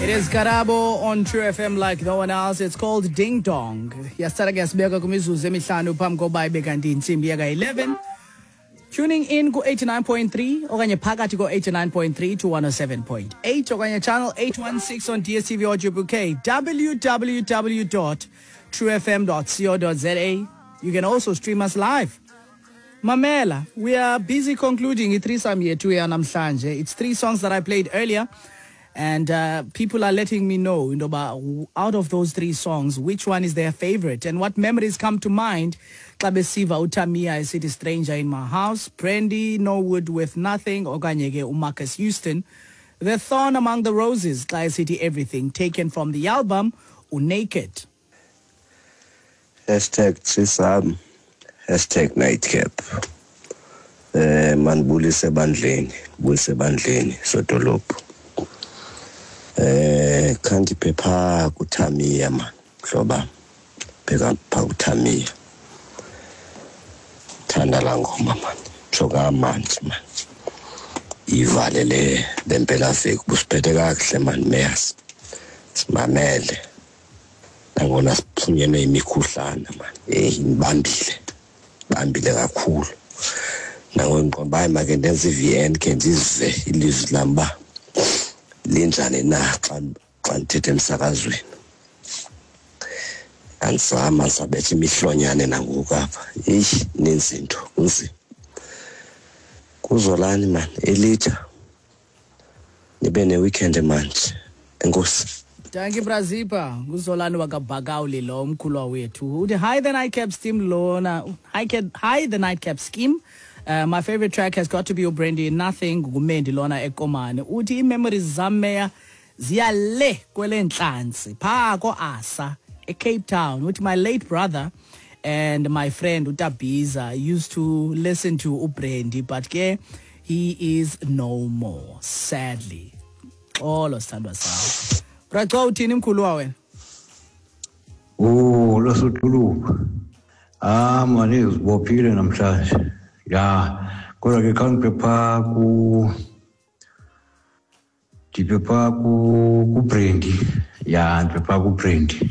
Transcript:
It is Karabo on True FM like no one else. It's called Ding Dong. Yasithatha ke yasibeka kwimizuzu emihlanu phambi koba ibe kanti intsimbi yaka-11. Tuning in ku-89.3 okanye phakathi ko-89.3 to 107.8 okanye channel 816 on DSTV Audio Bouquet, www.truefm.co.za. You can also stream us live. Mamela, we are busy concluding i-threesome yethu yanamhlanje. It's three songs that I played earlier. And people are letting me know, about out of those three songs, which one is their favorite and what memories come to mind. Xa besiva uTamia esithi "Stranger in My House", Brandy Norwood with "Nothing", okanye ke uMarcus Houston, "The Thorn Among the Roses", xa esithi "Everything", taken from the album uNaked. #threesome, #nightcap. Mandibulise ebandleni, bulise ebandleni, sodolophu. Khandiphe phaa kuTamia man, mhloba, pheka phaa kuTamia. Thanda laa ngoma man, tsho kamanzi man. Ivale le mpelaveki, busiphethe kakuhle man, mayors. Simamele. Nangona siphunyelwe yimikhuhlane man, heyi indibambile, bambile kakhulu. Nangoku ndiqonda uba hayi make ndenze i-VN khe ndizive ilizwi lam uba linjani na xa ndithetha emsakazweni. Andizama, ndisabetha imihlonyane nangoku apha. Eyi, ininzi into, kunzima. Kuzolani man, elitsha. Nibe ne-weekend manje. Enkosi. Dankie, Brazipa. Nguzolani wakabhakawuli lo, umkhulwa wethu. Uthi, "Hi, the Nightcap Steam lona. Hi, hi, the Nightcap Scheme. My favorite track has got to be uBrandy, 'Nothing'." Ngumendi lona eKomani. Uthi ii-memories zam, meya, ziya le kwelentlanzi phaa ko-Asa eCape Town. Uthi my late brother and my friend uTabiza used to listen to uBrandy, but ke he is no more, sadly. Xolo, sithandwa sam. Braco, uthini mkhulu wena? Oh, losodolophu. Ah mani, uzibophile namhlanje. Ya, kodwa ke khange phaa ku ndiphe phaa ku kuBrandy. Ya, ndiphe phaa kuBrandy.